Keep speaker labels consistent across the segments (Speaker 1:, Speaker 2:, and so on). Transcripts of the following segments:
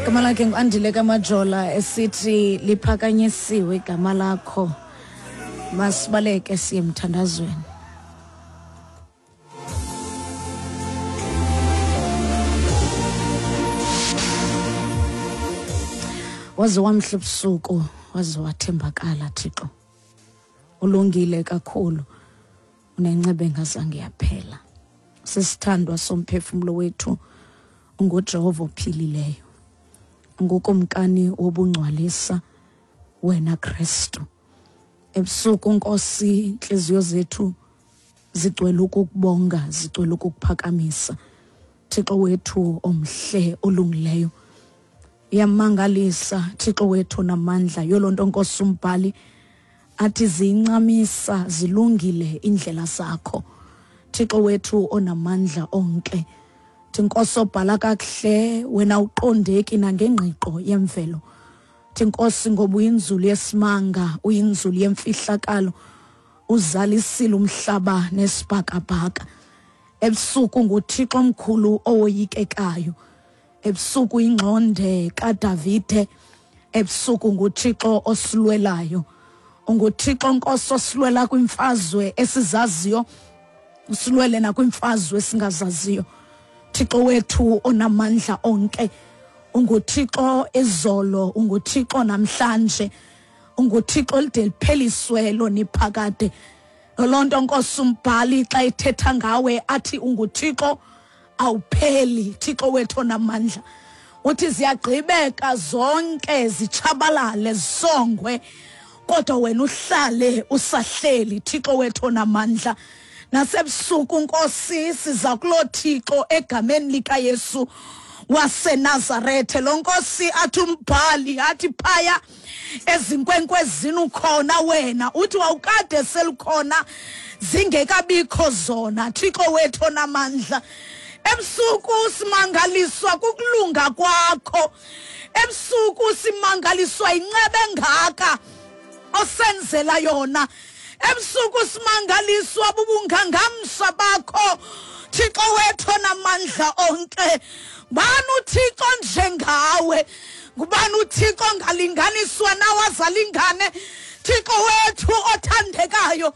Speaker 1: Igama lakhe nguAndile kaMajola esithi liphakanyisiwe igama lakho. Masibaleke siye emthandazweni. Waze wamhle ubusuku, waze wathembakala Thixo. Ulungile kakhulu. Unenceba engazange yaphela. Sisithandwa somphefumlo wethu unguJehova ophilileyo. Ungukumkani wobungcwalisa wena Kristu. Ebusuku Nkosi intliziyo zethu zigcwele ukukubonga, zigcwele ukukuphakamisa. Thixo wethu omhle olungileyo. Iyamangalisa Thixo wethu namandla yolonto Nkosi umbhali athi ziyincamisa zilungile indlela zakho. Thixo wethu onamandla onke. Thi Nkosi obhala kakuhle wena uqondeki nangengqiqo yemvelo. Thi Nkosi ngoba uyinzulu yesimanga, uyinzulu yemfihlakalo. Uzalisile umhlaba nesibhakabhaka. Ebusuku nguThixo omkhulu owoyikekayo. Ebusuku ingxonde kaDavide. Ebusuku nguThixo osilwelayo. UnguThixo Nkosi osilwela kwimfazwe esizaziyo, usilwele nakwimfazwe esingazaziyo. Thixo wethu onamandla onke, unguThixo izolo, unguThixo namhlanje, unguThixo lide lipheliswe loniphakade. Loo nto Nkosi umbhali xa ethetha ngawe athi unguThixo awupheli, Thixo wethu onamandla. Uthi ziyagqibeka zonke zitshabalale zisongwe, kodwa wena uhlale usahleli, Thixo wethu onamandla. Nasebusuku Nkosi siza kuloo Thixo egameni likaYesu waseNazarethe. Lo Nkosi athi umbhali athi phaya ezinkwenkwezini ukhona wena, uthi wawukade selukhona zingekabikho zona, Thixo wethu onamandla. Ebusuku simangaliswa kukulunga kwakho, ebusuku simangaliswa inceba engaka osenzela yona, ebusuku simangaliswa bubungangamsha bakho, Thixo wethu onamandla onke. Ngubani uThixo njengawe? Ngubani uThixo ongalinganiswa nawe azalingane? Thixo wethu othandekayo,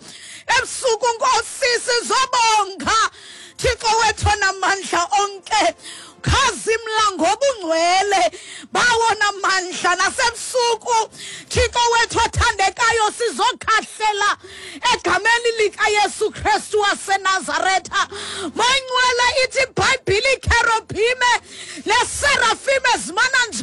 Speaker 1: ebusuku Nkosi sizobonga, Thixo wethu onamandla onke. Khazimla ngobungcwele bawona mandla. Nasebusuku Thixo wethu othandekayo sizokhahlela egameni likaYesu Kristu waseNazaretha. Moyingcwele ithi iBhayibhile ikerobhime neserafime zimana nje